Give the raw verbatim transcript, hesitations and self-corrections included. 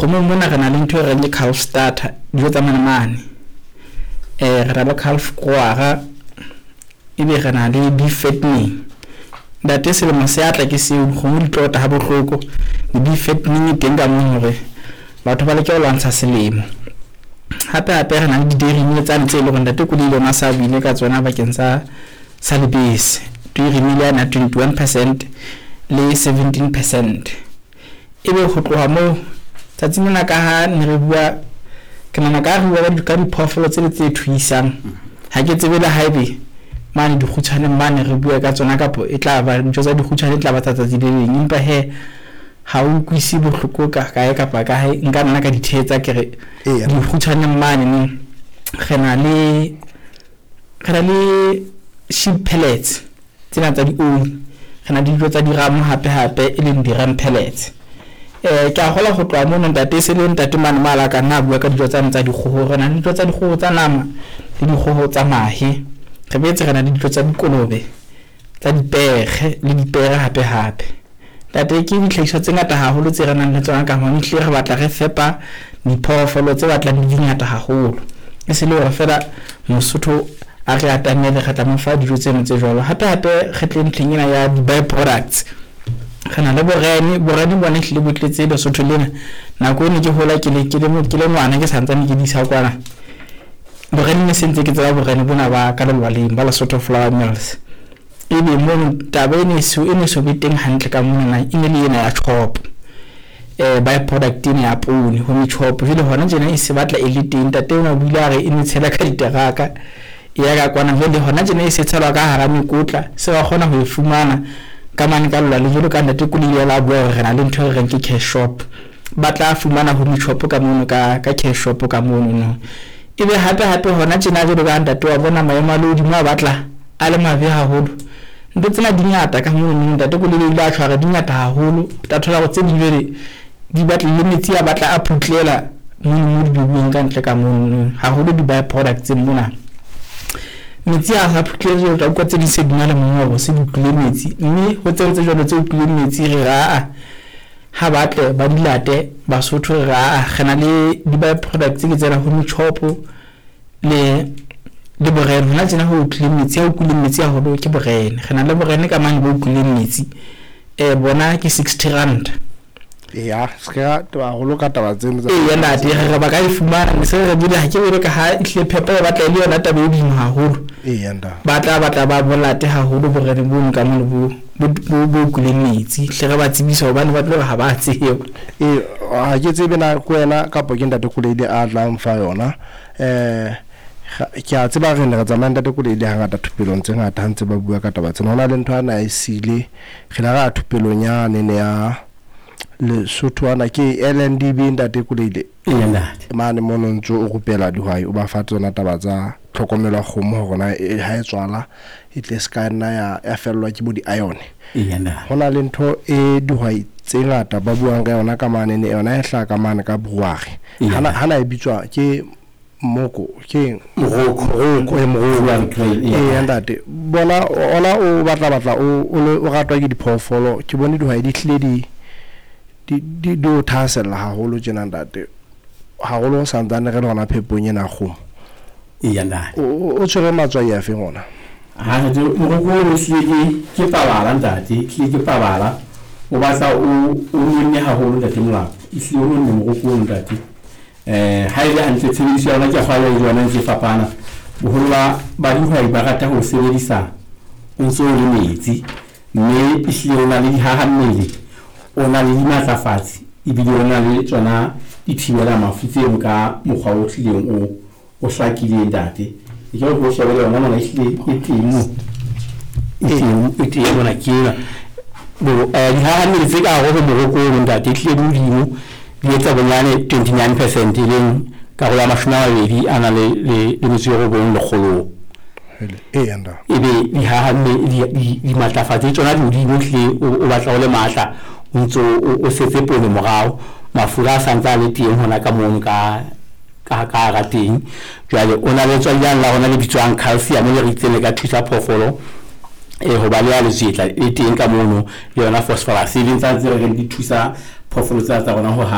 Dikgomong mona re na le ntho e reng ke calf starter, dijo tsa manamane. Eh re na le calf grower, ebe re na le beef fattening. Ntate selemo se atla ke seo, dikgomo di tlota ha bohloko. Di-beef fattening e teng ka mono hore batho ba leke ho lwantsha selemo. Hape hape re na le di-dairy meal tsane tse leng hore ntate Kolile ona sa buile ka tsona bakeng sa sa lebese. Dairy meal yana ya twenty-one percent le seventeen percent. Ebe ho tloha moo tsatsing lena ka ha ne re bua, ke nahana ka re bua ka diphoofolo tsele tse thuisang. Ha ke tsebe le haebe mane dikgutshwaneng mane re bua ka tsona kapo e tla ba dijo tsa dikgutshwane e tla ba tsa tsatsi le leng. Empa he ha o utlwisi bohloko ka kae kapa kae, nka nna ka di thetsa ke re dikgutshwaneng mane neng re na le re na le sheep pellets tsena tsa dioli, re na le dijo tsa diramo hape hape e leng di-ram pellets. Eh ke a kgolwa ho tloha mono ntate e se le ntate mane mo a la ka nna a bua ka dijo tsane tsa dikgoho. Re na le dijo tsa dikgoho tsa nama le dikgoho tsa mahe. Re boetse re na le dijo tsa dikolobe, tsa dipere le dipere hape hape. Ntate ke dihlahiswa tse ngata haholo tse re nang le tsona ka mona, ehlile re batla re fepa diphoofolo tse batlang di di ngata haholo. E se le hore feela Mosotho a re atamele re tla mo fa dijo tseno tse jwalo. Hape hape re tle ntlheng ena ya di-by products. Re na le borene, borene bona ehlile bo tletse Lesotho lena. Nako ene ke hola ke le ke le ke le ngwana ke santsane ke di isa kwana. Borene ne se ntse ke tseba borene bona ba ka lelwaleng ba Lesotho Flour Mills. Ebe mono taba e ne so e ne so be teng hantle ka mona e ne le ena ya chop. Eh by product ena ya poone ho metjhopo. Jwale hona tjena e se batla e le teng. Ntate ona o ile a re e ne tshela ka diteraka e ya ka kwana, jwale hona tjena e se tshelwa ka hara mekotla, se ba kgona ho e fumana ka mane ka lelwaleng. Jwalo ka ntate Kolile la bua hore re na le ntho e re reng ke cash shop, ba tla fumana ho metjhopo ka mono ka ka cash shop ka mono no. Ebe hape hape hona tjena jwalo ka ntate wa bona maemo a lehodimo a batla a le mabe haholo. Ntho tsena di ngata ka mono, ntate Kolile o ile a tshwara di ngata haholo. O tla thola hore tse ding jwale di batla le metsi a batla a phutlela mono mo di beuweng ka ntle ka mono, haholo di-by products mona. Metsi a sa phutlele, o tla utlwa tse ding se di na le mongobo, se di utlwile metsi. Mme ho tseo tse jwalo tse utlwileng metsi re re aa ha ba tle ba di late Basotho, re re aa re na le di-by products ke tsena ho metjhopo le le borene. Hona tjena ho utlwileng metsi, ha utlwileng metsi haholo ke borene. Re na le borene ka mane bo utlwileng metsi, eh bona ke sixty rand. Eya, se ka taba haholo ka taba tseno tsa Eya ntate, re re ba ka e fumana. Ne se re bile ha ke bone ka ha ehlile phepo e batla e le yona taba e boima haholo. Eya ntate. Ba tla batla ba bolate haholo borene bono ka mono bo bo bo utlwileng metsi. Hle re ba tsebisa hobane ba tlo re ha ba tsebe. Ee, ha ke tsebe na ke wena kapa ke ntate Kolile a tlang fa yona. Eh ke a tseba re ne re tsamaya ntate Kolile hangata thupelong tse ngata ha ntse ba bua ka taba tsena. Ho na le ntho ana e sile, re la ra thupelong yane ne ya Lesotho ana ke L N D B ntate Kolile. Eya ntate. Mane mono ntso o rupela dihwai, o ba fa tsona taba tsa tlhokomelo ya kgomo hore na e ha e tswala e tle se ka nna ya ya fellwa ke bo di-iron. Eya ntate. Ho na le ntho e dihwai tse ngata ba buang ka yona ka mane ne yona e hlaha ka mane ka brewery. Hana hana e bitswa ke moko ke Moroko. Moroko, e moroko. Brewery grain, Eya ntate. Bona ona o batla batla o o ratwa ke diphoofolo. Ke bone dihwai di hlile di di di di o thahasella haholo tjena ntate. Haholo ho santsane re le hona phepong ena ya kgomo. Eya ntate. O o tshwere matswai a feng ona? Ha ntate, moroko o hlile ke ke pabala ntate, hlile ke pabala. O batla o o nonne haholo ntate Molapo. Ehlile o nonne moroko ono ntate. Eh ha e le hantle tshebediso ya yona ke kgwale le yona e ntse e fapana. Boholo ba ba dihwai ba rata ho sebedisa o ntso le metsi, mme ehlile o na le dihahammele, o na le dimatlafatsi, ebile o na le tsona dithibela mafu tseno ka mokgwa o hlileng o o hlakileng ntate. Ke re ho shebele yona mona ehlile e teng mo. E teng, e teng mona ke ena. Bo eh dihahammele tse ka hare ho moroko ono ntate ehlile di hodimo, di etsa bonyane twenty-nine percent e leng karolo ya mashome a mabedi a nang le le le metso e robong lekgolong. Eya ntate. Ebe dihahammele di di dimatlafatsi tsona di hodimo ehlile o batla o le matla, o ntso o setse poone morao. Mafura a santse a le teng hona ka mono ka ka ka hara teng. Jwale o na le tswalane la rona le bitswang calcium le re itseng le ka thusa phoofolo eh ho ba le ya letswetla e teng ka mono, le yona phosphorus e leng tsa tse re reng di thusa phoofolo tsa tsa rona ho ha